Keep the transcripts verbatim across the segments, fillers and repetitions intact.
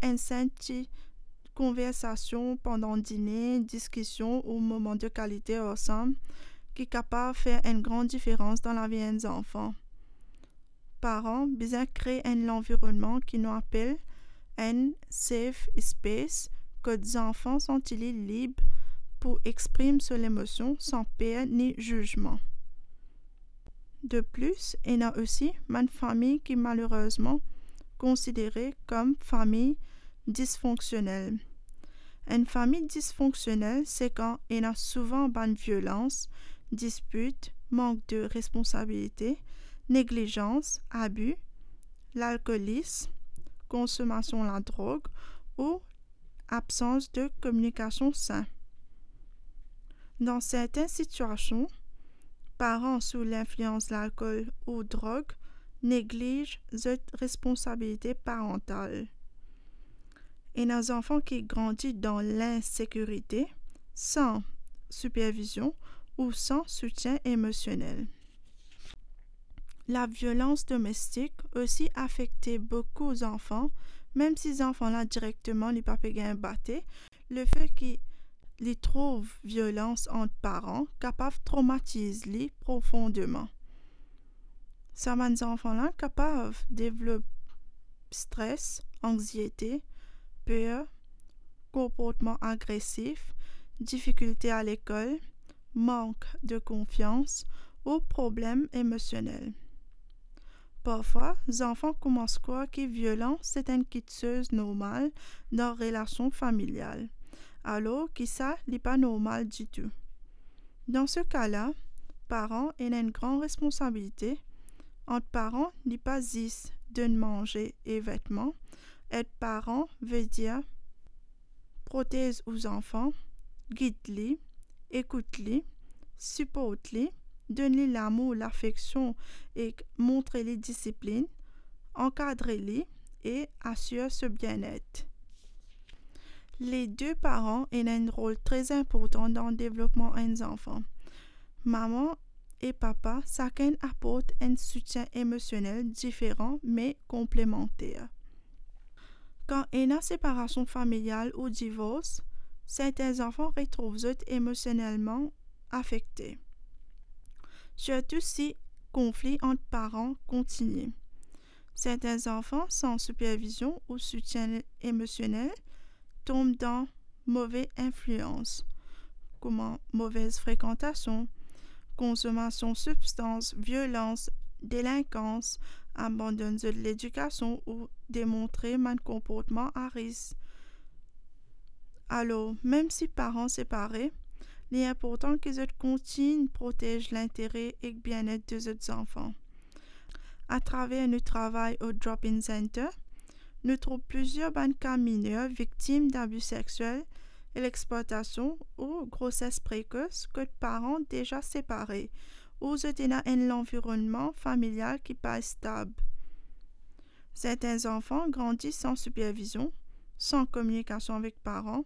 enn senp ti konversasion pandan dine, diskision ou moman de kalite ansam ki kapav fer enn gran diferans dan lavi enn zanfan. Paran bizin kree enn lanvironnman ki nou apel enn safe space, kot zanfan santi li lib pou exprim so lemosion san per ni zizman. De plis, ena osi bann fami ki malerezman konsidere kom fami disfonksionel. Enn fami disfonksionel se kan ena souvan bann violans, dispit, mank de responsabilite, neglizans, abi, lalkolis, konsomasion ladrog ou absans de kominikasion sin. Dan sertin sitiasion, paran sou linflians lalkol ou drog negliz zot responsabilite parantal. Ena zanfan ki grandi dan linsekirite, san sipervizion ou san soutien emosionel. Laviolans domestik osi afekte boukou zanfan, mem si zanfan la direkteman li pa pe gagn bate, lefet ki li trouv violans ant paran kapav tromatiz li profondeman. Sa bann zanfan la kapav devlop stres, anxiete, per, konportman agresif, difikilte alekol, mank de konfians ou problem emosionel. Parfwa, zanfan koumans krwar ki violans se enn kiksoz normal dan relasion familial, alor ki sa li pa normal ditou. Dan se ka la, paran ena enn gran responsabilite. Ant paran, li pa zis donn manze e vetman. Ed paran vedir protez ou zanfan, gid li, ekout li, siport li, donn li lamour, lafeksion ek montre li disiplin, ankadre li e asir so bienet. Le de paran ena enn rol tre inportan dan devlopman enn zanfan. Mama e papa sakenn aport enn soutien emosionel diferan me konplemanter. Kan ena separasion familial ou divors, sertin zanfan retrouv zot emosionelman afekte, sirtou si konfli ant paran kontinie. Sertin zanfan san sipervizion ou soutien emosionel tom dan move inflians, kouma move frekantasion, konsomasion sibstans, violans, delinkans, abandonn zot ledikasion ou demontre bann konportman a risk. Alor, mem si paran separe, li inportan ki zot kontign protez lintere ek bienet de zot zanfan. Atraver nou travay o Drop-In Center, nou trouv plizier bann ka miner viktim dabi sexiel, lexplwatasion ou groses prekos kot paran deza separe ou zot ena enn lanvironnman familial ki pa stab. Sertin zanfan grandi san sipervizion, san kominikasion avek paran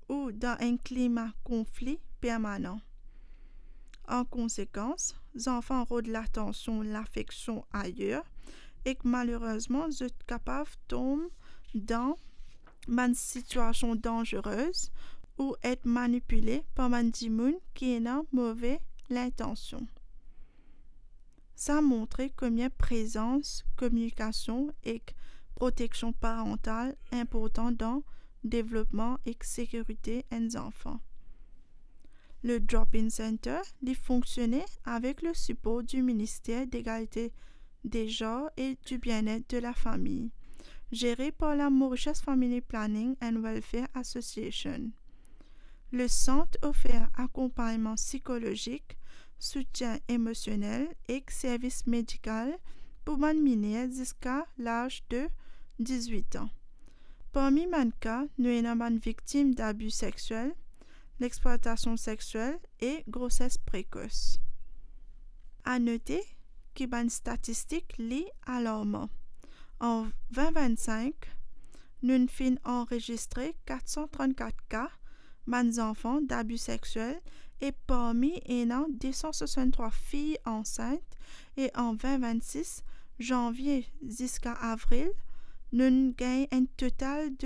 ou dan enn klima konfli permanan. An konsekans, zanfan rod latansion, lafeksion ayer, ek malerezman, zot kapav tom dan bann sitiasion danzerez ou et manipile par bann dimoun ki ena move lintansion. Sa montre komie prezans, kominikasion ek proteksion parantal inportan dan devlopman ek sekirite enn zanfan. Le Drop-In Center, li fonksione avek le sipor di Minister Degalite de Zanr e di Bienet de Lafami, zere par la Mauritius Family Planning and Welfare Association. Le sant ofer akonpagnman sikolozik, soutien emosionel ek servis medikal pou bann miner ziska laz de dizwit an. Parmi bann ka, nou ena bann viktim dabi sexiel, lexplwatasion sexiel e groses prekos. A note ki bann statistik li alarman. An vin vinn-sink, nou finn anrezistre kat san trant-kat ka bann zanfan dabi sexiel e parmi ena de san swasann-trwa fiy ansint e an vin vinn-sis, zanvie ziska avril, nou gagn enn total de